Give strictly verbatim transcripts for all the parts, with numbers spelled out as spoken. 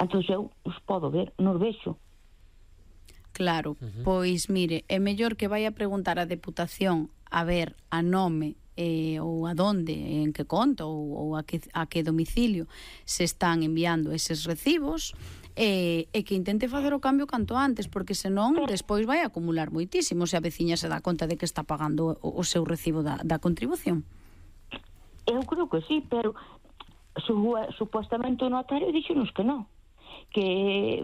entón eu os podo ver, nos vexo. Claro, Uh-huh. pois mire, é mellor que vai a preguntar á Deputación a ver a nome eh, ou a donde, en que conta ou, ou a, que, a que domicilio se están enviando eses recibos e, e que intente facer o cambio canto antes, porque senón despois vai acumular moitísimo se a veciña se dá conta de que está pagando o, o seu recibo da, da contribución. Eu creo que sí, pero su, supostamente o notario dixonos que non, que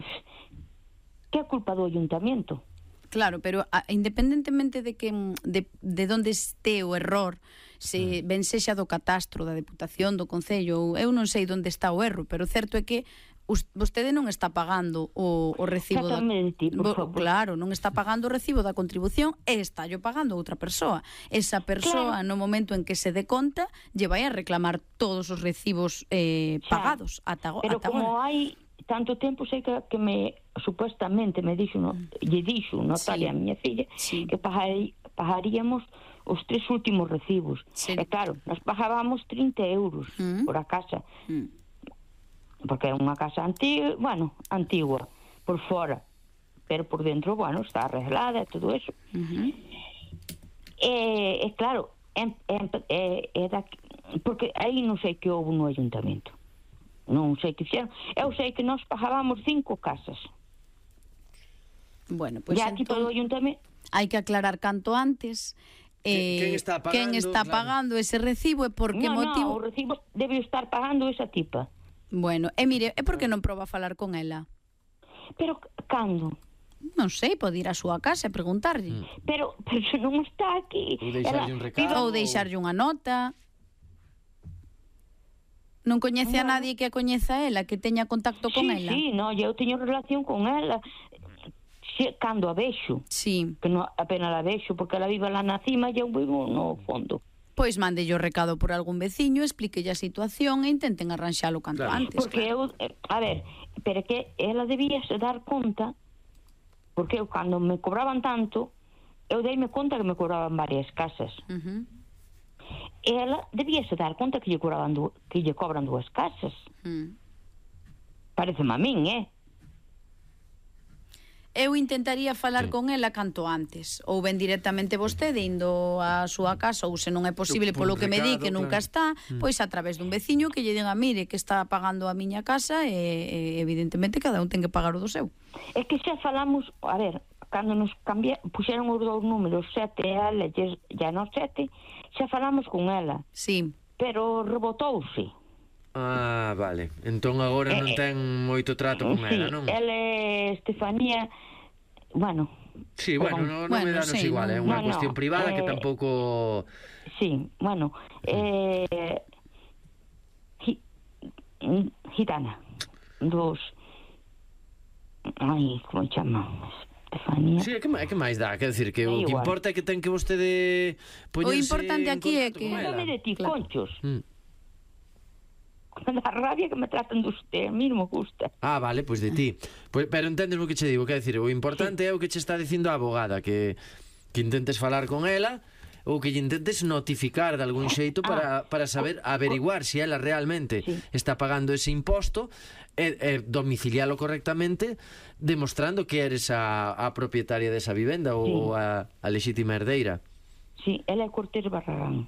que é culpa do ayuntamiento. Claro, pero a, independentemente de que de, de onde este o error, se ben sexa do catastro, da Deputación, do Concello, eu non sei onde está o erro, pero o certo é que us, vostede non está pagando o, o recibo da, ti, por favor. Claro, non está pagando o recibo da contribución e está yo pagando outra persoa. Esa persoa, claro, no momento en que se dé conta, lle vai a reclamar todos os recibos eh, pagados ata, pero ata como agora. hai tanto tempo, sei que, que me supuestamente me dixo, no, lle dixo notaria, sí, a miña filla, sí, que pagai, pagaríamos os tres últimos recibos. Sí. E claro, nos pagábamos trinta euros mm. por a casa. Mm. Porque é unha casa antiga, bueno, antigua, por fora, pero por dentro, bueno, está arreglada e todo eso. Uh-huh. E, e claro, é, é, é, é da, porque aí non sei que houve no ayuntamento. Non sei que fixeron. Eu sei que nós pagábamos cinco casas. Bueno, pois pues aquí todo o ayuntamento hai que aclarar canto antes eh, quen está pagando, quen está claro, pagando ese recibo e por que no, motivo. No, o recibo debe estar pagando esa tipa. Bueno, e mire, é porque non proba a falar con ela? Pero cando? Non sei, pode ir á súa casa e preguntarlle. Mm. Pero, pero se non está aquí. Ou deixarlle un recado. Ou deixarlle unha nota. Non coñece a nadie que a coñeza ela, que teña contacto con sí, ela? Sí, no, eu teño relación con ela si, cando a vexo. Sí. Que no, apenas a vexo, porque ela vive lá na cima e eu vivo no fondo. Pois mándelle o recado por algún veciño, explíquelle a situación e intenten arranxalo canto claro, antes. Porque claro. eu, a ver, pero que ela debía se dar conta, porque eu cando me cobraban tanto, eu deime conta que me cobraban varias casas. Uh-huh. Ela debía se dar conta que lle cobraban du- que lle cobran dúas casas. Mm. Pareceme a min, eh? Eu intentaría falar sí. con ela canto antes, ou ben directamente vostede indo á súa casa, ou se non é posible polo que me di que nunca está, mm. pois a través dun veciño que lle diga, mire, que está pagando a miña casa e, e evidentemente cada un ten que pagar o do seu. É que xa falamos, a ver, cando nos cambia, puxeron os dous números sete e ela e a nos sete, xa falamos con ela. Sí. Pero rebotouse. Ah, vale. Entón agora non ten moito trato con sí, ela, non? Ela é Estefanía, bueno... Sí, bueno, non no bueno, me danos sí, igual, é no, unha no, cuestión privada eh, que tampouco... Sí, bueno, eh... Gi, gitana, dos... Ai, como chama? Estefanía. Sí, é que, é que máis dá, quer decir, que o que importa é que ten que vostede poñerse o importante aquí é que... Dame de ti, claro. Conchos. Mm. Da rabia que me tratan de usted, a mí non me gusta. Ah, vale, pois pues de ti. Pues, pero entendes o que che digo, quer decir, o importante sí. é o que che está dicindo a abogada, que, que intentes falar con ela ou que lle intentes notificar de algún xeito para, para saber, averiguar se si ela realmente sí. está pagando ese imposto e, e domicilialo correctamente, demostrando que eres a, a propietaria desa vivenda sí. ou a, a lexítima herdeira. Sí, ela é Cortés Barragán.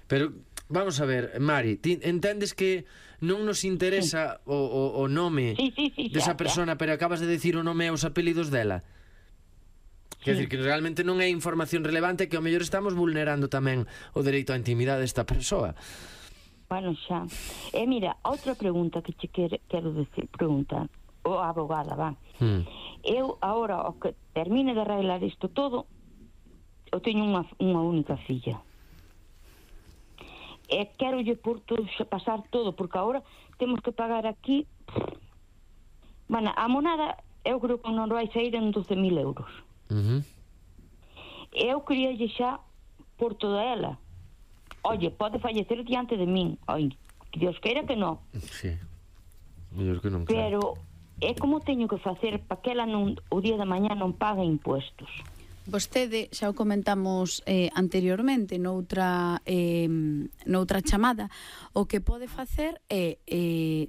Pero vamos a ver, Mari, ti entendes que non nos interesa sí. o, o, o nome sí, sí, sí, desa xa, persona, xa. Pero acabas de decir o nome e os apelidos dela. Sí. Quer dizer que realmente non é información relevante, que ao mellor estamos vulnerando tamén o dereito á intimidade desta persoa. Bueno, xa. E mira, outra pregunta que che quero, quero decir, preguntar, o abogada, va. Hmm. Eu, agora, o que termine de arreglar isto todo, eu teño unha, unha única filla. E quero lle por todo, pasar todo, porque agora temos que pagar aquí, bueno, a monada eu creo que non vai sair en doce mil euros. Uh-huh. Eu queria lle xa por toda ela. Oye, pode fallecer diante de min. Oi, que Dios queira que non. Sí, mellor que non. Pero é como teño que facer para que ela non, o día de mañá non pague impuestos. Vostede, xa o comentamos eh, anteriormente noutra, eh, noutra chamada, o que pode facer é eh,